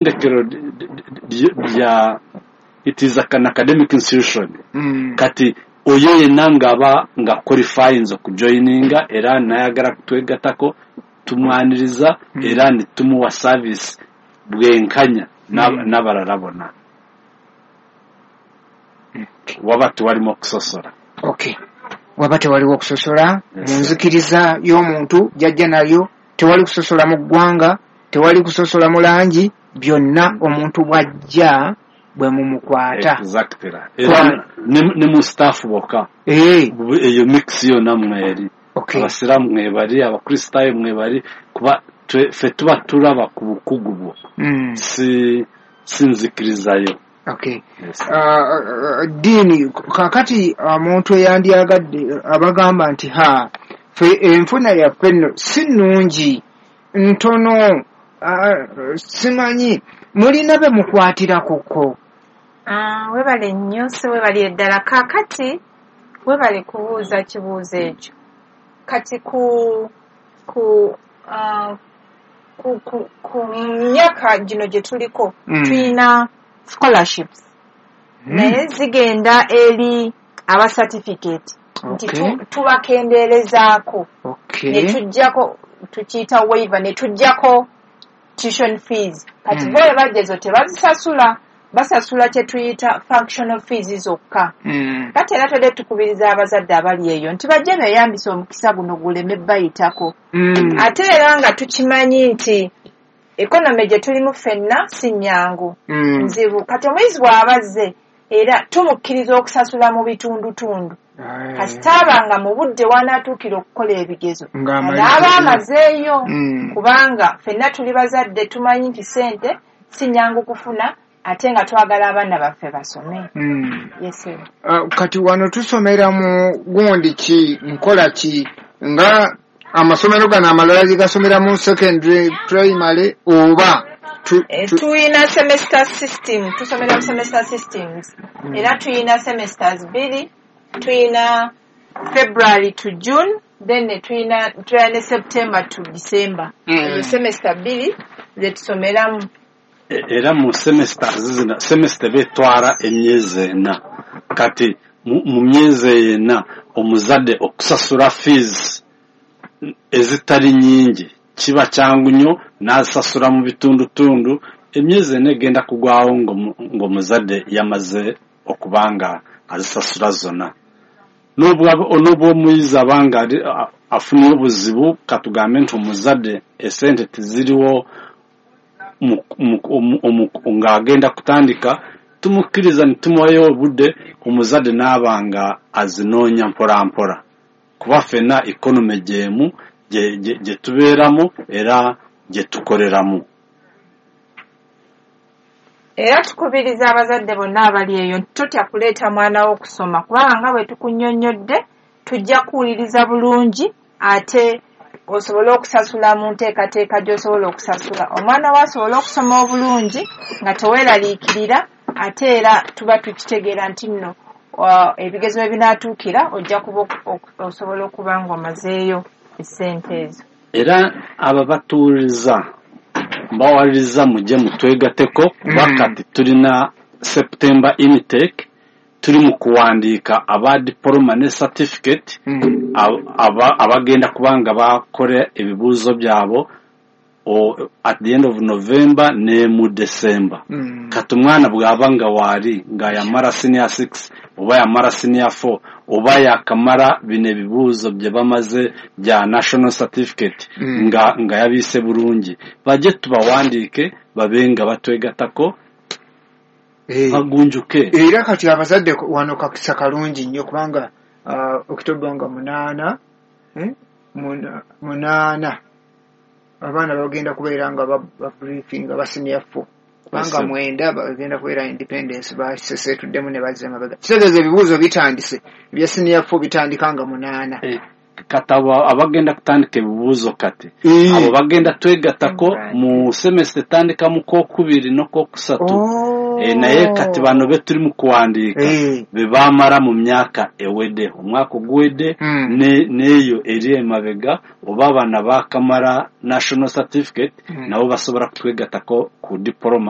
Ettendekero lya, it is an academic institution. Kati oyo yenna ng'aba nga qualifyinze okujoininga era nayagala kutwegatako, tumwaniriza era nitumuwa service bwenkanya n'abalala bonna, waba tewalimu okusosola. Okay, waba tewaliwo okusosola mu nzikiriza y'omuntu jajja nayo, tewali kusosola mu ggwanga, tewali kusosola mu langi, byonna omuntu bw'ajja bwe mumukwata. Exactly, era ne mu staff bokka, eyo mix yonna mweri. Abasiraamu mwebali, abakristaayo mwebali, kuba ffe tuba tulaba ku bukugu bwo, si nzikirizayo. Okay. Ddiini kakati omuntu eyandyagadde abagamba nti ha, ffe enfuna yaffe nno si nnungi, ntono, simanyi mulina be mukwatirako? Webale nnyo, si webalire ddala. Kaakati webale kubuuza kibuuzo ekyo. Kati ku myaka gino gye tuliko, tulina scholarships, naye zigenda eri aba certificate nti tubakendeerezaako ne tujjako, tukiyita waiver, ne tujjako tuition fees. Kati bo bwe ezo tebazisasula, basasula kye tuyita functional fees zokka. Kati era twedde tukubiriza abazadde abali eyo nti bajje beeyambise omukisa guno guleme bayitako. Ate era nga tukimanyi nti economy gye tulimu ffenna si nnyangu, nzibu. Kati omuyizi bw'aba azze, era tumukkiriza okusasula mu bitundutundu, kasita aba nga mu budde wanaatuukira okukola ebigezo anaaba amazeeyo, kubanga ffenna tuli bazadde, tumanyi nti ssente si nnyangu kufuna, ate nga twagala abaana baffe basome. Yes. Kati wano tusomera mu gundi ki, nkola ki, nga amasomero gano amalala gye gasomera mu secondary, primary, oba Tuyina semester system, tusomera mu semester systems. Era tuyina semesters bbiri, tuyina February to June, then ne tuyina ne September to December. Ezo semester bbiri zetusomeramu. Era mu semesters zino, semester betwala emyezi 4. Kati mu myezi eyo 4, omuzadde okusasula fees ezitali nyingi kiba kyangu nnyo, n'asasula mu bitundutundu. Emyezi 4 egenda kugwawo ng'omuzadde yamaze okuba nga azisasula zonna. N'obwa omuyizi abanga afunye obuzibu, katugambe nti omuzadde esente teziriwo ng'agenda kutandika, tumukkiriza ne tumuwayo obudde, omuzadde n'aba nga azinoonya mpola mpola, kuba ffenna economy gyemu gye tubeeramu era gye tukoleramu. Era tukubiriza abazadde bonna abali eyo nti totya kuleeta mwana wo okusoma, kubanga nga bwe tukunnyonnyodde, tujja kuwuliriza bulungi ate osobole okusasula mu nteekateeka gy'osobola okusasula, omwana wo asobole okusoma obulungi nga teweeraliikirira. Ate era tuba tukitegeera nti nno ebigezo bwe binaatuukira ojja kuba osobola okuba ng'omazeeyo essente ezo. Era aba batuwuliriza, mbawaliriza mujje mutwegateko, kuba kati tulina September intake, tuli mu kuwandiika aba diploma ne certificate, abagenda kuba nga bakora ebibuuzo byabo at the end of November ne mu December. Kati omwana bw'aba nga waali nga yamara senior 6 oba yamara senior 4 oba yakamara bino ebibuuzo bye bamaze bya national certificate, nga yabiise bulungi, bajje tubawandiike babe nga batwegatako, bagunjuke. Era kati abazadde wano kakisa kalungi nnyo, kubanga October nga 8, 8, abaana bagenda kubeera nga babriefinga ba senior 4, kubanga 9 bagenda kubeera independence, basesetuddemu ne bazza emabega. Kitegeeza ebibuuzo bitandise ebya senior 4 bitandika nga 8. Kati abagenda kutandika ebibuuzo kati, abo bagenda twegatako mu semester etandika mu kwokubiri n'okwokusatu. Naye kati bano be turi mu kuwandiika be bamara mu myaka ewedde, omwaka oguwedde n'eyo eri emabega, oba abana bakamara national certificate, nabo basobora kutwegatako ku diploma.